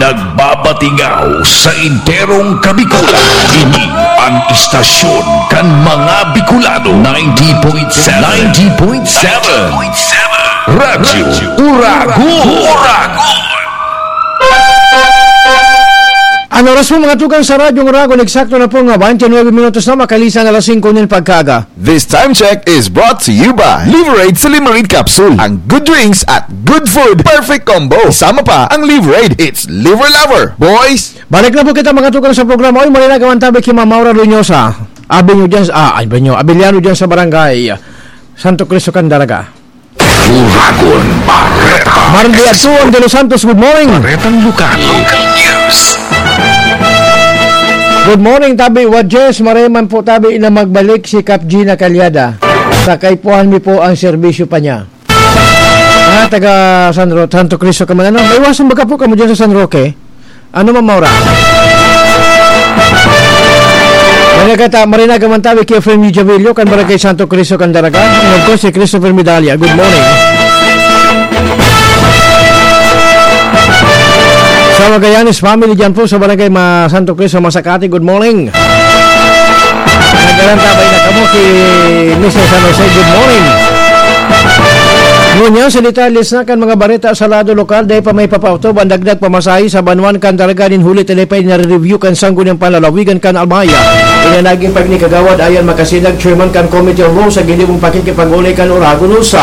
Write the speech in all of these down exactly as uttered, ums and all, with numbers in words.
Nagbabatingaw sa enterong Kabikulan. Ini ang istasyon kan mga Bicolano. Ninety point seven. Ninety point seven. Radyo Uragon. An oras po, mga tugang, sa Radyo Uragon, eksakto na po nga twenty-nine minutos na makalisan alas singko nin pagkaaga. This time check is brought to you by Liverade Silimarin Capsule. Ang good drinks at good food, perfect combo. Kasama pa ang Liverade, it's Liver Lover, boys! Balik na po kita, mga tugang, sa programa. Oy, malinagawan tabi ki Ma'am Maura Lunyosa. Abi nyo dyan, ah, abi nyo, Abiliano dyan sa barangay Santo Cristo, Candaraga. Uragon Bareta. Marliazuan de los Santos, good morning. Baretang lokal. Local news. Good morning, tabi Wajes. Maray man po, tabi, na magbalik si Kap Gina Calyada. Sa kaipuhan mi po ang serbisyo pa niya. Ah, taga San Ro-, Santo Cristo ka man, ano? Maiwasan baga po kamo dyan sa San Roque? Ano, Ma'am Maura? Nagkakata, marinaga man tabi ki Efrain Javillo, kan Barangay Santo Cristo, Candaraga. And of course, si Christopher Medalla. Good morning. Sa Magallanes family dyan po sa Barangay Ma-, Santo Cristo, Masacate. Good morning. Nagarantabay na kamo ki Mister San Jose. Good morning. Ngunyan, sa detalye na kan mga bareta sa lado lokal, dai pa may papaotob an dagdag pamasahe sa banwaan kan Daraga nin huli ta dai pa ini nare-review kan Sangguniang Panlalawigan kan Albay. Ini an nagin pahayag ni Kagawad Ayan Makasinag, chairman kan Committee on Law, sa ginibong pakikipag-olay kan Uragon News. Sa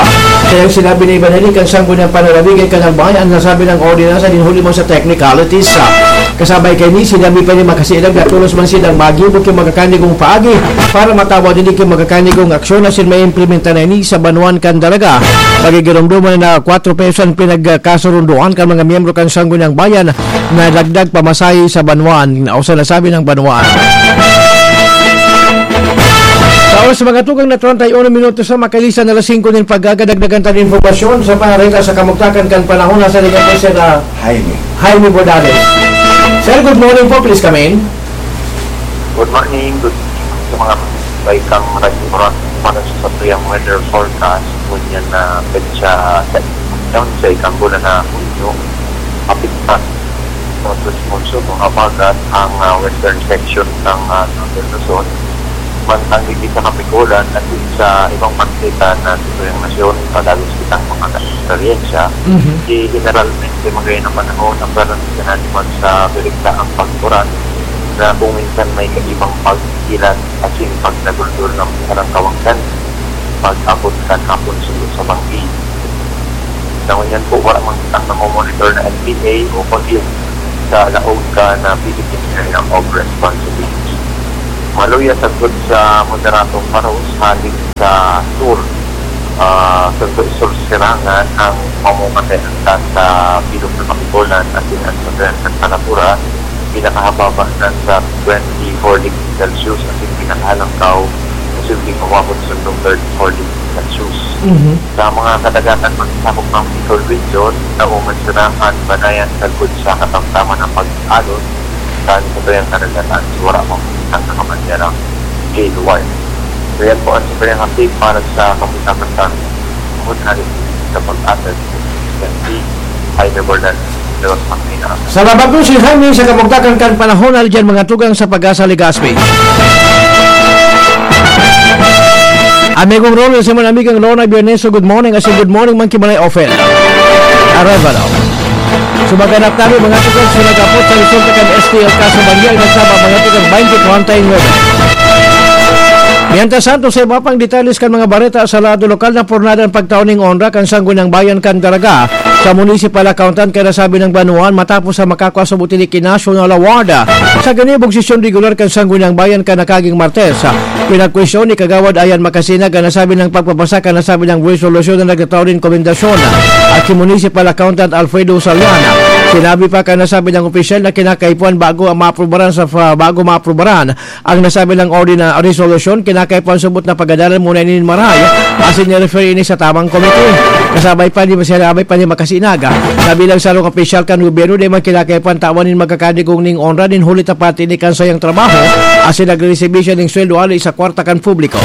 iyang sinabi na ibanali kan Sangguniang Panlalawigan kan Albay an nasabing ordinansa nin huli man sa technicalities. Kasabay kaini, sinabi pa ni Makasinag na tolos man sinda maggibo ki mga kanigong paagi para matawan ini ki mga kanigong aksyon asin maimplementa na ini sa banwaan kan Daraga. Pagigiromdoman na kwatro pesos an pinagkasurundoan kan mga miyembro kan Sangguniang Bayan na dagdag pamasahe sa banwaan o sa nasabing banwaan. Sa oras, mga tugang, na treinta y uno minutos na makalisan alas singko nin pagkaaga, dagdagan ta nin impormasyon sa panareta sa kamugtakan kan panahon. Nasa linya po si Sir, ah, Jaime. Jaime Bordales. Sir, good morning po. Please come in. Good morning. Good morning sa mga baikang radyo oras para sa satuyang weather forecast. Ngunyan na petsa sa, sa ikang bulan na Hunyo, apekta sa Monsoon, mga pagat ang, ah, western section ng, ah, Northern Luzon. Mantang digdi sa Kapikulan at sa ibang parte na sa tuyang nasyon, padagos kitang mga eksperyensya. Mhm. Di generalmente, magayon ang panahon, ang karaniwan sa direkta ang pag-uran na kung minsan may kaibang pagkilat asin pagdaguldol ng parang kawangkan pag-abot kan hapon sulo sa banggi. Sa ngunyan po, wala man kitang namomonitor na N P A o pag sa laog kan Philippine Area of Responsibility. Maluya sagkod sa moderadong paros hale sa sur, ah, sa sur, sur silangan ang pamumatayan sa bilog na Kapikulan asin ang sa Kalapura, pinakahababa na sa twenty-four degrees Celsius asin pinakahalangkaw, posibleng umabot sa thirty-four degrees Celsius. Mhm. Sa mga kadagatan, magsasakop ng Bicol Region, Daoman, Sinahan, Banayan, sagkod sa katamtaman ng pag-alon, sa satuyang karagatan, wala mang makikitang nakabanderang gale warning. So, yan po ang satuyang update para sa kapitan ng Hali sa pag-atag. Yan si Jaime Bordales. Salamat po, Sir Jaime, sa kamugtakan kan panahon. Hali dyan, mga tugang sa Pag-asa, Legazpi. Amigong Ronald, Simon, amigang Lorna Bierneso, good morning. Asin good morning man ki Manay Ofel Arevalo. Sumaganap tabi, mga tugang, sa nag-apot sa resulta kan S T L ka sa Bangyag, nagsaba, mga tugang, twenty twenty-nine. Mientras tanto, sa iba pang detalles kan mga bareta sa lado lokal, napurnada an pagtao ning onra kan Sangguniang Bayan kan Daraga sa Municipal Accountant kan nasabing banwaan matapos sa makakua subot ini ki National Award sa ginibong sesyon regular kan Sangguniang Bayan kan nakaging Martes. Pinagkwestiyon ni Kagawad Ayan Makasinag an nasabing pagpapasa kan nasabing resolusyon na nagtatao nin komendasyon at si Municipal Accountant Alfredo Saliana. Sinabi pa kan nasabing opisyal na kinakaipuhan bago ang maaprubaran sa, bago maaprubaran ang nasabing ordinance resolution, kinakaipuhan subot na pagadalan muna ini nin marahay asin i-refer ini sa tamang komite. Kasabay pa ni, kasabay pa ni Makasinag na bilang sarong opisyal kan gobyerno, dai man kinakaipuhan tawan nin magkakanigong ning onra nin huli ta parte ini kan sayang trabaho asin nagre-resibi siya nin sweldo hali sa kwarta kan publiko.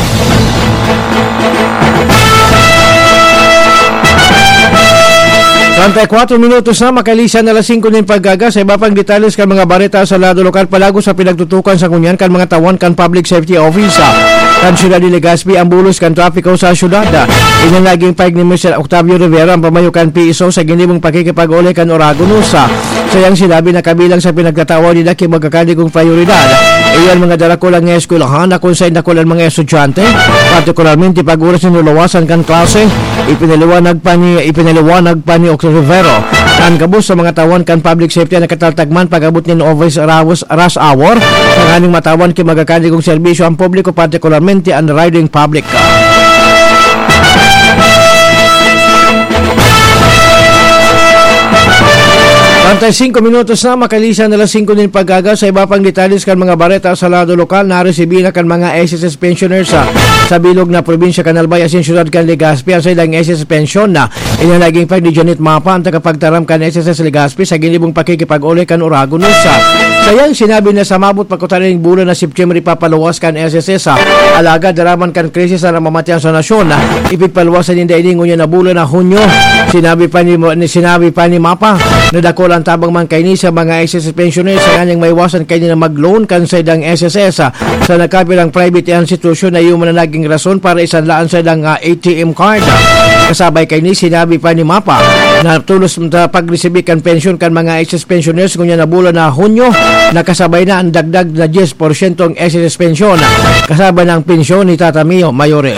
Treinta y cuatro minutos na, makalisan na alas singko nin pagkaga. Sa iba pang detalles kan mga bareta sa lado lokal, palagos sa pinagtutukan sa ngunyan kan mga tawan kan Public Safety Office, ah, kan siyudad ni Legazpi ang bulos kan trapiko sa siyudad. Iyan naging pahayag ni Mister Octavio Rivera, ang pamayo kan P S O, sa ginibong pakikipag-uli kan Oragonos. Sa iyang sinabi na kabilang sa pinagtatawa ni Daki magkakaligong prioridad, iyan mga darakulang eskwelahan na kung saan dakul ang mga estudyante, partikularmente pag oras nin lulawasan kan klase, ipinaliwanag pa ni, ipinaliwanag pa ni Octavio Rivero. Ang gabos sa mga tawan kan public safety ang nakataltagman pag-abot nin office hours, rush hour, tanganing matawan ki magkakaligong serbisyo ang publiko, partikularmente ang riding public. Treinta y cinco minutos na, makalisan na alas singko nin pagkaga. Sa iba pang detalles kan mga bareta sa lado lokal, naresibi na kan mga S S S pensioners sa, sa bilog na probinsya kan Albay asin siyudad kan Legazpi ang saindang S S S pensyon na iyan naging pag ni Janet Mapa, ang tagapagtaram kan S S S Legazpi, sa ginibong pakikipag-uli kan Oragon News. Sa iyang sinabi na sa mabot pa kutaning bulan na September ipapaluwas kan S S S, ah, alagad daraman kan krisis na namamatian sa nasyon, ah, ipigpaluwas na ninda ini ngunyan na bulan na Hunyo. Sinabi pa ni, ni sinabi pa ni Mapa na dakul ang tabang man kaini sa mga S S S pensioners sa nganyang maiwasan kaini na mag-loan kan saindang S S S, ah, sa nagkapirang private institution na iyo man ang naging rason para isanlaan saindang, ah, A T M card. Kasabay kaini, sinabi pa ni Mapa na tulos sa pagresibi kan pensyon kan mga S S pensioners ngunyan na bulan na Hunyo, nakasabay na ang dagdag na diyes porsyento ang S S S pensyon, kasabay na ang pensyon ni Tata Mio Mayores.